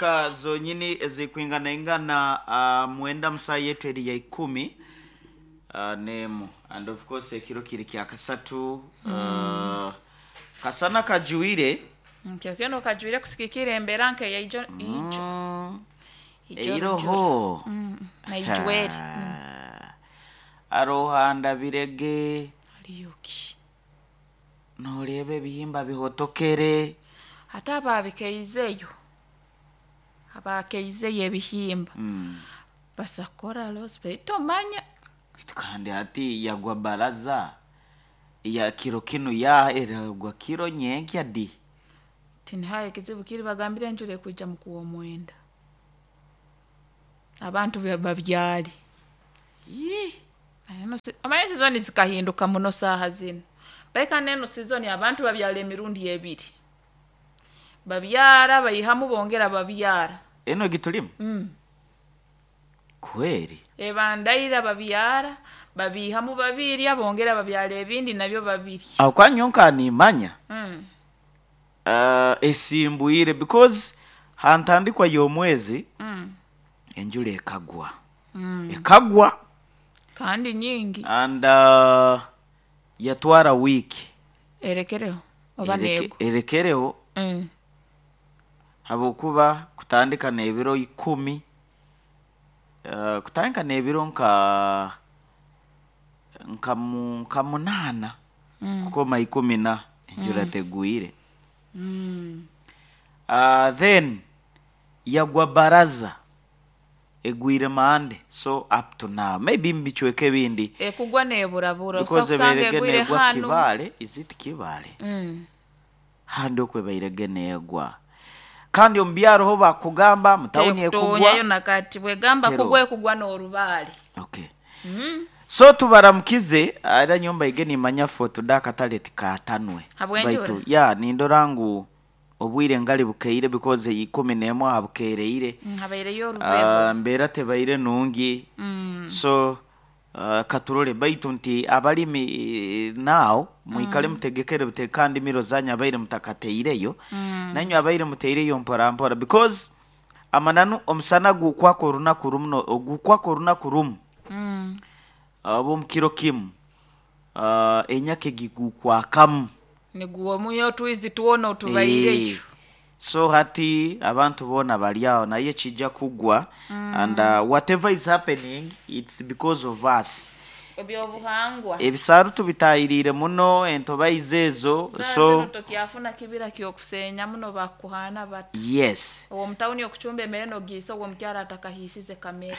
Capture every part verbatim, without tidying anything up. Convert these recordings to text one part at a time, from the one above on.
Ka zonyini ezikwingana ingana uh, mwenda musaa yetu eri ya ikumi uh, nemu, and of course ekiro kiri kya kasatu mm. uh, kasana kajuire. Nkyo keno kajwire kusikikira embeera nk'eyaijo ijo. mm. Ijo. Eiroho. Mm, naijweri mm. Arohanda birege. Aliyuki. Noreeba ebihimba bihotokere. Ate ababikeizeyo, abakeizeyo ebihimba mm. basakora los tomanya. Kandi hati yagwa baraza ya kiro kinu, ya eragwa kiro nyenkya di. Tinihaye ekizibu kiri, bagambire enjura ekwija mukuwa omwenda, abantu bya- babyali. Yii. Eno si- omanye sizoni zikahinduka muno saaha zinu, baika neno sizoni abantu babyala emirundi ebiri, babyara, baihamu, bongera babyara. Eno gitulimu. mm. Kweri. Ebandaira babyara, babihamu, babirya, bongera babyara ebindi nabyo babirya. Aho kwanyonka nimanya mm. uh, esimbwire because hantandikwa y'omwezi mm. enjura ekagwa, mm. ekagwa. Kandi nyingi. And uh, yatwara wiiki. Erekereho oba Ereke- nego. Erekereho. mm. Habwokuba kutandika n'ebiro ikumi, uh, kutandika n'ebiro nka nka mu- nka munaana mm. kukoma ikumi na enjura tegwire. mm. uh, then yagwa baraza egwire mande, so up to now maybe mbicweka ebindi. Ekugwa neburabura. Because usanga ebairege egwire negwa hanu. Kibale, is it Kibale? mm. Handi okwe bairege negwa, kandi omu byaro ho bakugamba mutawuni ekugwa. Tekutonyayo nakati bwegamba. Tero. Kugwa, ekugwa n'orubaale. Okay. mm. So tubaramukize era nyumba ige nimanya foto akatale tikatanwe. Habw'enjura? Baitu ya nindora ngu obwire ngali bukeire because ikumi n'emu aha bukereire. Mm, habaireyo uh, orubeho. Mbeera tebaire nungi. mm. So uh, katurole, baitu nti abalimi, eh, now mwikale mutegekere bute kandi miro zanyu abaire mutakateireyo, mm. nanywe abaire muteireyo mpora mpora, because amananu omusana gukwaka orunaku rumu no- gukwaka orunaku rumu, mm. oba omukiro kimu, uh, enyaka egigukwakamu. Niguwo muyo otwizi twona otubaireyo. Eh, so hati abantu boona bali aho naye kijja kugwa mm. and uh, whatever is happening, it's because of us. Ebyobuhangwa. Ebisaaru tubitayiriire muno, entobaizi ezo. Saa So zino tokyafuna kibira kyokusenya muno, bakuhana bati yes. owo mutawuni okucumba emere nogiisa ogwo omukyara atakahisize kamere.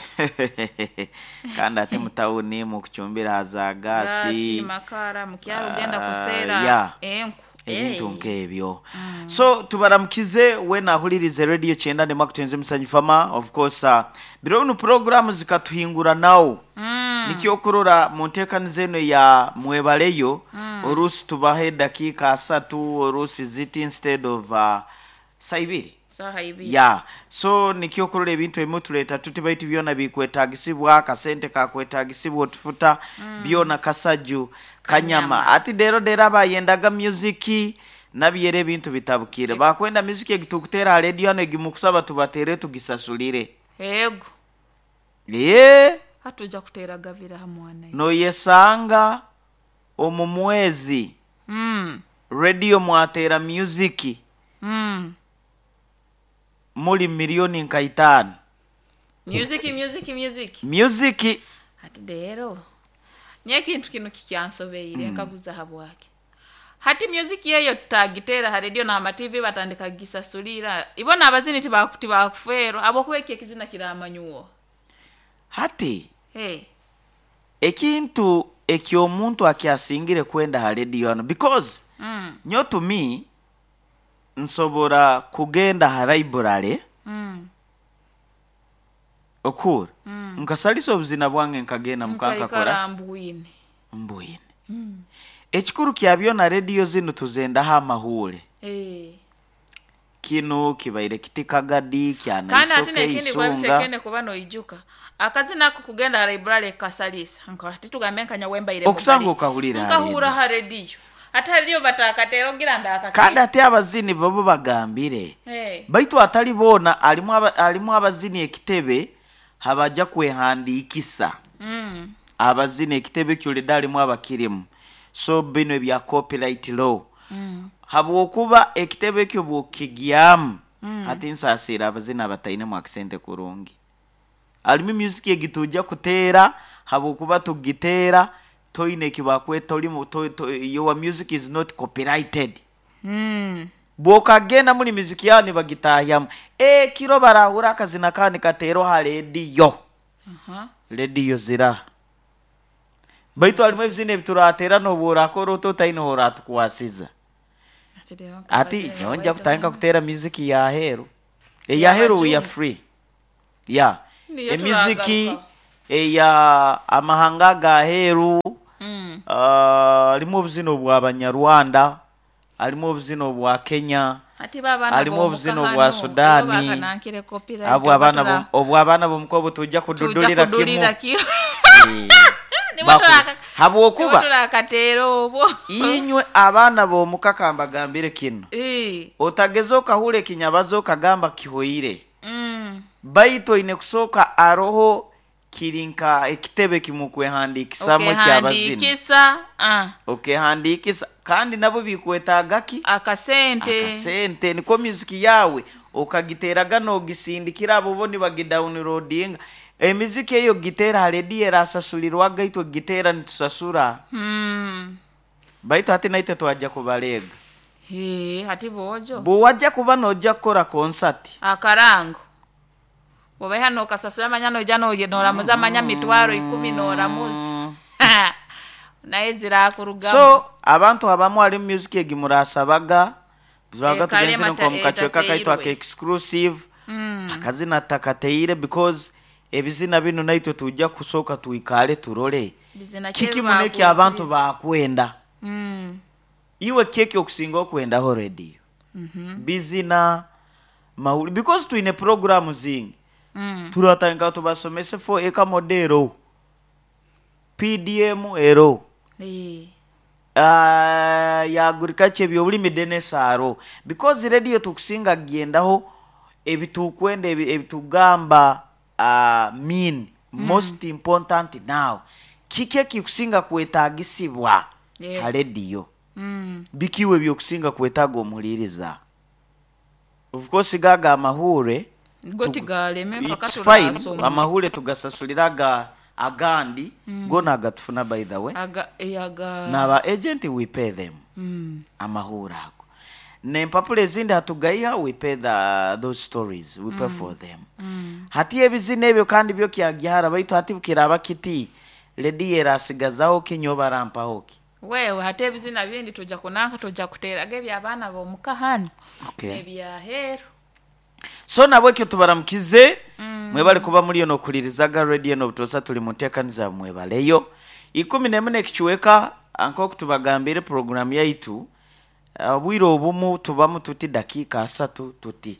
Kandi ate mutawuni mukucumbira haza gasi. Gasi. Makara, mukyaro ogenda Ah, kuseera yeah. enku. Ebintu Eh. nk'ebyo. So tubaramukize wena ahulirize Radio kyenda nemakutenze musanyu fama. Of course, uh, biro bino programu zikatuhingura nawo. Mm. Nikyo okurora mu nteekaniza eno ya mwebaleyo, oluusi tubaho eddakiika asatu, oluusi ziti instead of uh, saa ibiri. Saha ibiri. Ya, so nikyo okurora ebintu ebimu tuleeta tuti, baitu byona bikwetagisibwa, akasente kakwetagisibwa, otufuta byona kasaju kanyama. Kanyama. Ati dero dero abayendaga music nabyera ebintu bitabukire, bakwenda music egitukuteera ha radio hano egimukusaba tubatere tugisasulire. Ego. Ye. Hatuja kuteera gabira ha mwana ye. Noyesanga omu mwezi mm. radio mwateera music mm. muli miliyoni nka itaano. Music, music, music. Music. Ati rero nye ekintu kino kikyansobeire, nkaguza habwake hati music yeyo tutagiteera ha radio n'ama T V batandika gisasulira, ibona abazini tibaku- tibakufeerwa abokuba eki ekizina kiramanyuwo. Hati hey. ekintu ekyomuntu akyasingire kwenda ha radio hano because mm. nyo to me nsobora kugenda ha library mm. okura mm. nkasalisa obuzina bwange nkagenda mukankakora. Nkaikara mbwine. Mbwine. mm. Ekikuru kya byona, rediyo zinu tuzendaho amahuure. hey. Kinu kibaire kiti kagadi. Kandi ate kyanaisoke nekindi isunga. Kwabisekene kuba noijuka akazina ako kugenda ha library kasalisa nka ati tugambe nkanya wembaire. Okusanga okahulira ha nkahura radio. Ha rediyo. Ate hariyo batakatera ogira ndaka. Kandi ate abazini babo bagambire. Hey. Baitu atali boona alimu aba, alimu abazini ekitebe habajja kwehandiikisa. Mm. Abazini ekitebe kyoleda alimu abakirimu. So bino ebya copyright law. Mm. Habwokuba ekitebe ekyo bwokigyamu Mm. ati nsaasira abazini abatainemu akasente kurungi. Alimu music egitujja kuteera habwokuba tugiteera toine ekibakweta olimu to, to, your music is not copyrighted. Mm. Bwokagenda muri music yawe nibagitahyamu ekiro barahura akazina kandi kateerwa ha rediyo. Aha. Rediyo zira baitu harimu ebizina ebiturateera nobu orakora ota otaine oratukwasiza. Ati rero Ati nkabazini nyowe nja baitu kutandika hano. kuteera music ya heru. Eya heru we are Y'abajungu. free ya Niyo emiziki turagaruka. eya amahanga ga heru. Mm. Ah, harimu obuzina obw'abanyarwanda, harimu obuzina obwa Kenya, Ati babana harimu bomuka obuzina hano, obwa iyo Sudaani, bakanankire copyright abo abaana oba b'omu- obwo abaana b'omuka tujja tujja kududulira kimu. kudulira kimu. Eh, Nibo baku- turaka- habwokuba nibo turakateera obwo. Inywe abaana b'omuka kambagambire kino. Eh. Otageza okahura ekinyabazo okagamba kihoire. Mm. Baitu oine kusooka aroho kiri nka ekitebe kimukwehandiikisamu ekyabazini. Okehandiikisa ah, Okehandiikisa kandi nabo bikwetaaga ki? Akasente. Akasente niko music yawe okagiteraga nogisindikira abo bo nibagidownloadinga. Emiziki eyo gitera ha rediyo erasasulirwaga, itwe gitera nitusasura. Mm. Baitu hati naitwe twajja kubalega. Hee, hati bojo Bwewajja kuba nojja kukora konsati akarango bwobaiha nokasasura manya noija noye- noramuza manya mitwaro ikumi noramuza naye zirakurugamu. So abantu abamu harimu music egi murasabaga turaga Eh, kale tugenzire mata- nko mu kacweka kaitu etateirwe. aka exclusive. Mm. Akazina takateire because ebizina bino naitwe tujja kusooka tuikale turole Bizina kiki muno eki abantu bakwenda. Mm. Iwe keki okusinga okwendaho rediyo Mhm. bizina mawuli because twine programu zingi. Mm. Turatanga tubasomese fo eka modero P D M ero Eh. uh, ya agriculture, ebyobulimi denesaro because radio tukusinga gendaho ebitukwenda ebi- ebitugamba uh, mean mm. most important now kiki ekikusinga kwetagisibwa Yeah. ha rediyo. Mm. Bikiwe byokusinga kwetaaga omuwuliriza, of course gaga amahure. Go tigaleme mpaka It's fine. turasoma. Amahure tugasasulira aga agandi mm. gona agatufuna, by the way. Aga eh, aga Naba agent we pay them. Mm. Amahure ago nempapula ezindi hatugaiha, we pay the, those stories we pay for them. Mm. Hati ebizina ebyo kandi byo kyagihara baitu hati kiraba kiti rediyo erasigazaho ki nyo barampaho ki? Wewe hati ebizina bindi tuja kunanka tuja kuteraga ebyabaana bomuka hano Okay. ebyaheru. So nabwekyo tubaramukize mm. mwebale kuba muliyo nokulirizaga radio nobutosa tuli muteekaniza mwebaleyo ikumi nemu nekichweka nk'oku tubagambire programu yaitu obwire obumu tubamu tuti dakiika asatu tuti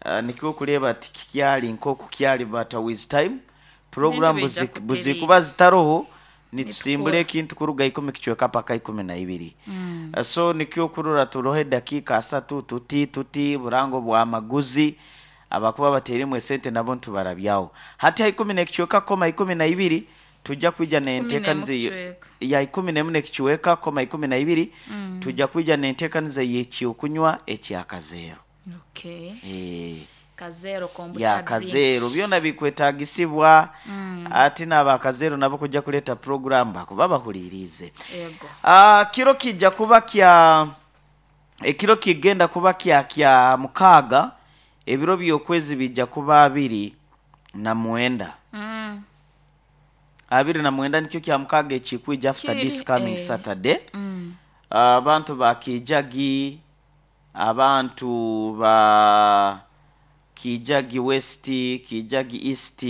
uh, nikwo kureba ati kikyali nk'oku kyali, but with time program Ebintu bijja buzi- kutereera. buzikuba zitaroho nitusimbula Nitukora. ekintu kuruga ikumi kichweka paka ikumi na ibiri. Mm. Uh, so nikyo kurora turohe dakiika asatu tuti tuti burango bwa maguzi abakuba bateremu esente nabo ntubarabyaho hati ha ikumi nekichweka koma ikumi na ibiri tujja kwija nenteekaniza n'emu kichweka. Ya ikumi nemu nekichweka koma ikumi na ibiri mm. tujja kwija nenteekaniza yekyokunywa ekyakazeero. Okay. Eh, Kazero kombucha ya drink. Kazeero byona bikwetagisibwa mm. ate n'abakazeero nabo kujja kuleeta program bakuba bahulirize. Ego. Ah, kiro kijja kuba kya ekiro kigenda kuba kya kya mukaaga, ebiro by'okwezi bijja kuba abiri na mwenda. Mm. Abiri na mwenda nikyo kya mukaaga ekikwija after Kiri, this coming eh. Saturday. Mm. Abantu ba Kijagi, abantu ba Kijagi West, Kijagi East,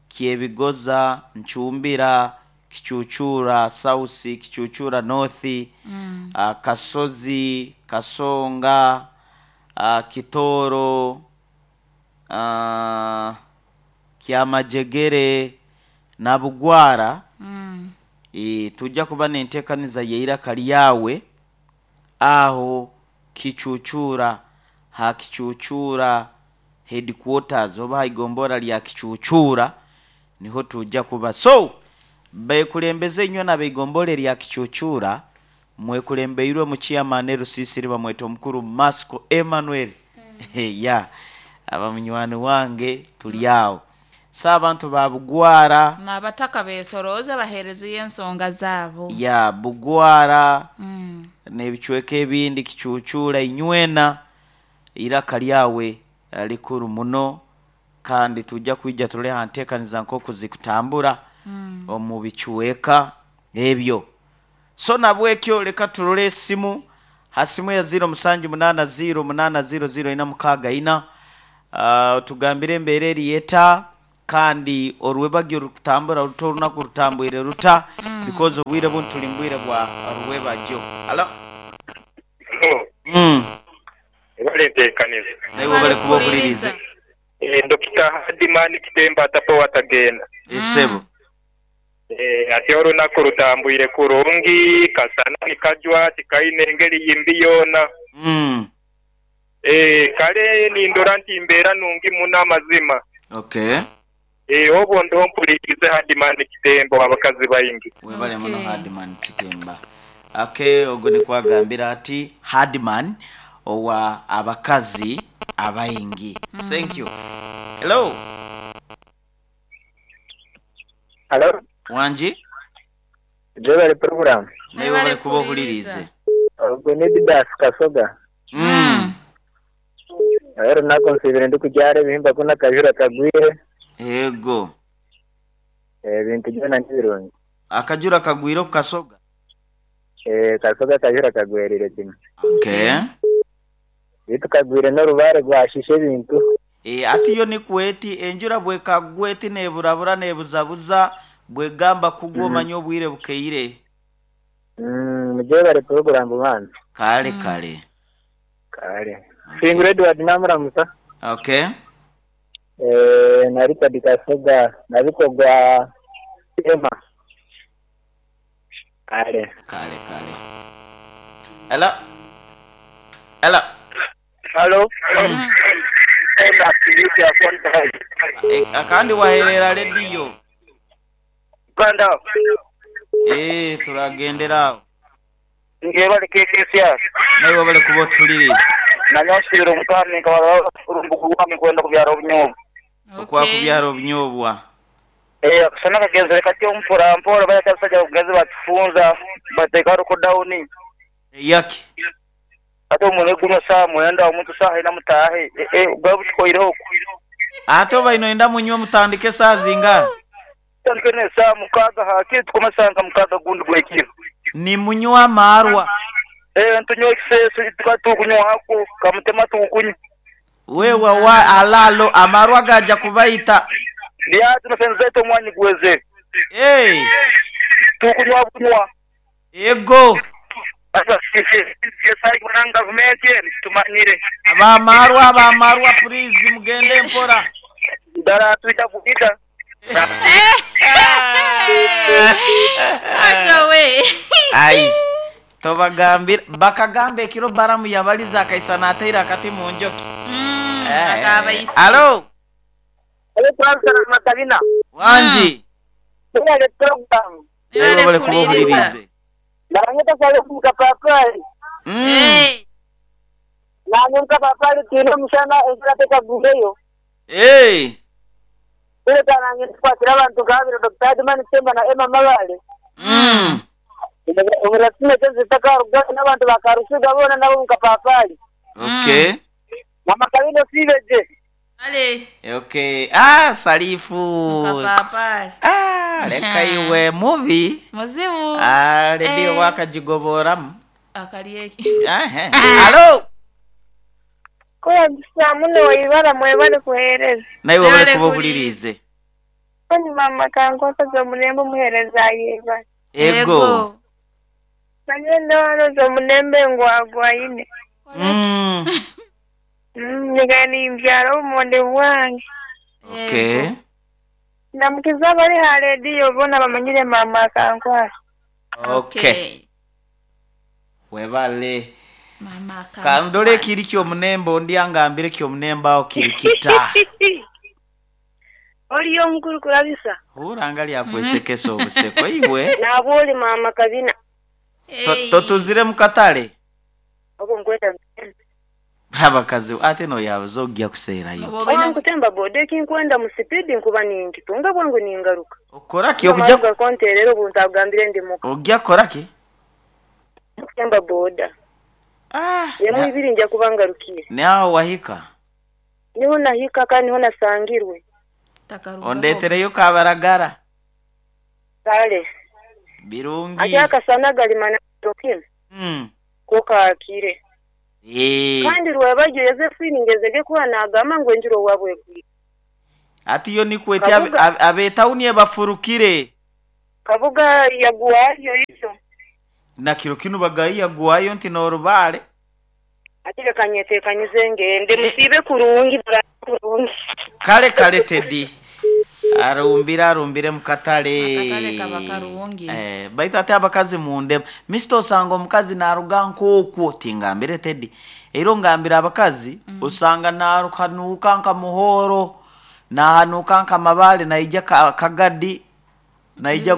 Kyebigoza, Nchumbira, Kichuchura South, Kichuchura North, mm. uh, Kasozi, Kasonga, uh, Kitoro, uh, Kyamajegere Nabugwara. Mm. E, tujja kuba nenteekaniza yeiraka lyawe. Aho Kichuchura, ha Kichuchura headquarters oba haigombora lya Kichuchura niho tujja kuba. So bekulembeze inywe nabeigombora lya Kichuchura, mwekulembeirwe mu chairman Rusisiri bamweta omukuru Masco Emmanuel. Mm. Ya abamunywani wange tuli awo. So abantu ba Bugwara n'abataka besoroze bahereze ensonga zaabo. Ya Bugwara mm. n'ebicweka ebindi Kichuchura inywena iraka lyawe likuru muno, kandi tujja kwijja tuleha nteekaniza nk'oku zikutambura mm. omu bicuweka ebyo. So nabwekyo leka turole esimu hasimu ya ziro musanju munana ziro munana ziro ziro ina mukaga ina. Uh, tugambire embeera eriyeta kandi orwebagyo rukutambura ruta orunaku rutambwire ruta mm. because obwire bunu tuli mbwire bwa rwebagyo. Alo. Hello. Mm. Ebale nteekaniza. Nawe bale kuba okulirize. Eh, Dokita Hadimani Kitemba atapo watagenda. Esebo. Mm. Eh, ati olunaku rutambwire kurungi, kasana nikajwa tikaine engeri yimbi yona. Mm. Eh, kale nindora nti mbeera nungi muno amazima. Okay. Eh, obwo ndo mpulirize Hadimani Kitemba abakazi baingi. Webale muno Okay. Hadimani Kitemba. Okay, ogwo nikwagambira ati Hadman owa abakazi abaingi. Mm. Thank you. Hello. Hello. Wanji? Jebale program. Nawe bale kuba okulirize. Ogwo ni Didas Kasoga. Mm. Ero nakonsibire ndi kugyara ebihimba kuna kajura kagwire. Ego. Ebintu byona nibirungi. Akajura kagwire ku Kasoga. Eh, Kasoga kajura kagwerire kimwe. Okay. Bitu kagwire n'orubare rwashishe ebintu. E, ati yo nikweti enjura bwekagweti neburabura nebuzabuza bwegamba kugwa omanye mm. obwire bukeire. Mm, mujebale program bwana. Kale Mm. kale. Kale. Okay. Singure Edward namuramusa. Okay. Eh, na Richard Kasoga nabikogwa Ema. Kale. Kale kale. Hello. Hello. Hello. Mm. E, akandi waherera radio. Uganda. Eh, turagendera aho. Ngebale K K C R. Nawe bale kuba otulirize. Nanyosibira omutwani nkabara urumbugu rwami kwenda kubyara obunyobwa. Okwa Okay. kubyara obunyobwa. Eh, akasana kagenzere kati ompora mpora baya abasajja bakugenze batufunza bateeka ruko down. Yaki. Ate omuntu guno saa mwenda omuntu saa ina mutahe. Eh, eh, bwa bushikoireho. Ate oba ino enda munywe mutandike saa zinga. Tandike ne saa mukaga hakiri tukomasanga mukaga gundi gwekiro. Ni munywa amarwa. Eh, ntunywa ekiseeso tukatukunywa hako kamutema tukunywa. Wewe wa alalo amarwa gaja kubaita. Lyatu nasenzeto omwanyi gweze. Hey, Tukunywa bunywa. ego. Asa sisi kuna gavumenti tumanyire. Abamarwa abamarwa please mugende mpora. Ddala tuita kukita. Acha we. Ai. Tobagambira bakagamba ekiro baramu yabaliza akaisana ateira akati mu njoki. Mm, Eh, akabaisi. Alo. Ale kwanza na makalina. Wanji. Ile program. Nawe bale kuba okulirize. Nangeta sale mukapapali. Mm. Eh. Nange mukapapali tino mshana enjura teka guleyo. Hey. Ile kanange kwatira abantu kabiri Doctor Adman Temba na Emma Mabale. Mm. Umurasime tezitaka rugana n'abantu bakarusiga bona nabo mukapapali. Okay. Mama Kalino sibeje. Ale. Okay. Ah, Salifu. Mukapapali. Ah, leka iwe mubi. Muzibu. Ah, redio Eh. wakajigoboramu. Akalieki. Ahe. Alo. Kola muno ibara mwebale kuhereza. Nawe bale Webale kuba kuliriza. okulirize. Oni mama kankwasa omulembe omuhereza ayeba. Ego. Nagenda wanoza omulembe ngwagwaine. Mm. Mm, nigani mbyara obumonde bwange. Okay. Namukiza abali ha rediyo bona bamanyire mama akankwasa. Okay. Webale. Mama Kandole kiri kyomunemba ondi angambire kyomunemba aho kiri kita. Oliyo omukuru kulabisa. Huranga lyakwesekesa obuseko iwe. Nabwoli mama kabina. To- Totuzire mu katale. Obo nkweta. Abakazi ate noyabuza ojja kuseerayo. Oba nkutemba boda ekinkwenda mu sipidi nkuba ninkitunga bwangu ningaruka. Okora ki okujja Okujja konterera obuntagambire ndi muka. ojja kora ki? Kutemba boda. Ah. Yemu ibiri nja kuba ngarukiye. Nawe wahika. Niho nahika kandi niho nasangirwe. Ondetereyo kabaragara. Kale. Birungi. Ate akasana galimana tokin. Mm. Ko kaakire. Eh. Kandi rwabajyo Yosephine ngezege kuba nagamba ngo enjuro wabwe gwi. Ati yo nikwete abe- abe- abetawuni ebafurukire. Kabuga yaguwayo izo. Na kiro kinu bagayiya guwayo nti n'orubaale. Ate leka nyeteekanyize ngende musiibe kurungi bara kurungi. Kale kale Teddy. Arumbire arumbire mu katale. Akatale kaba karungi. Eh, baitu ate abakazi mundema. Mister osanga omukazi naruga nk'okwo tingambire Teddy. Era ongambira abakazi mm. osanga narukanuka nka muhoro nahanuka nka mabaale naija ka, kagadi naija mm.